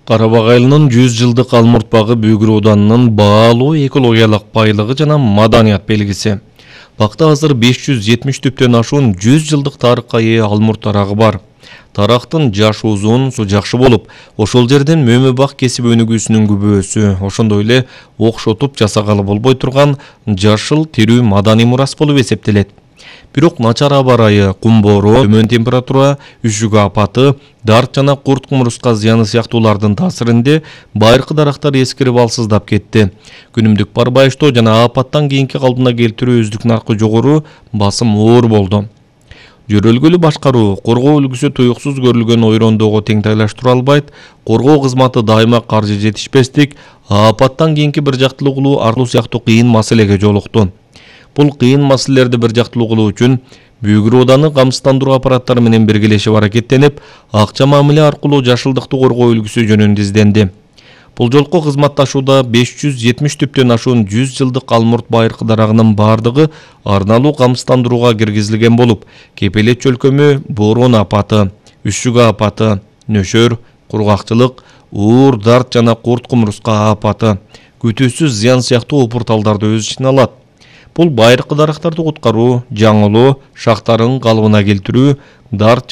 Карабак айылынын 100 жылдык Алмурт багы Бүгүр Ауданынын баалуу экологиялык байлыгы жана маданият белгиси. Бакта азыр 570 түптөн ашуун 100 жылдык тарыхка ээ Алмурт тарагы бар. Тарактын жашы узун, суу жакшы болуп, ошол жерден мөмө бак кесип өнүгүүсүнүн күбөсү, ошондой эле окшотуп жасагалы болбой турган жашыл тирүү маданий мурас болуп эсептелет. Бирок начар аба ырайы, кум боороо, төмөн температура, үшүгө апаты, дарт жана курт кумурска зыяны сыяктуулардын таасиринде байыркы дарактар эскирип алсыздап кетти. Күнүмдүк барбайыштоо жана апаттан кийинки калпына келтирүү өздүк наркы жогору, басым оор болду. Жөрөлгөлүү башкаруу, коргоо үлгүсү туюксуз көрүлгөн ойрондоого теңтайлаштыра албайт, коргоо кызматы дайыма каржы жетишпестик, апаттан кийинки бир жактылуу кылуу артуу сыяктуу кыйын маселеге жолукту. Бул кыйын маселелерди бир жактылуу кылуу үчүн Бүгүр Ауданы камсыздандыруу аппараттары менен биргелешип аракеттенип, акча мамиле аркылуу жашылдыкты коргоо үлгүсү жөнүндө изденди. Бул жолку кызматташууда 570 түптөн ашуун 100 жылдык Алмурт байыркы дарагынын бардыгы арналуу камсыздандырууга киргизилген болуп, Кепелет чөлкөмү, боорон апаты, үшүгө апаты, нөшөр, кургакчылык, уур, дарт жана курт кумурска апаты, күтүүсүз зыян сыяктуу опурталдарды өз ичине алат. Бул байыркы дарактарды куткаруу, жаңылоо, шактарын калыбына келтирүү, дарт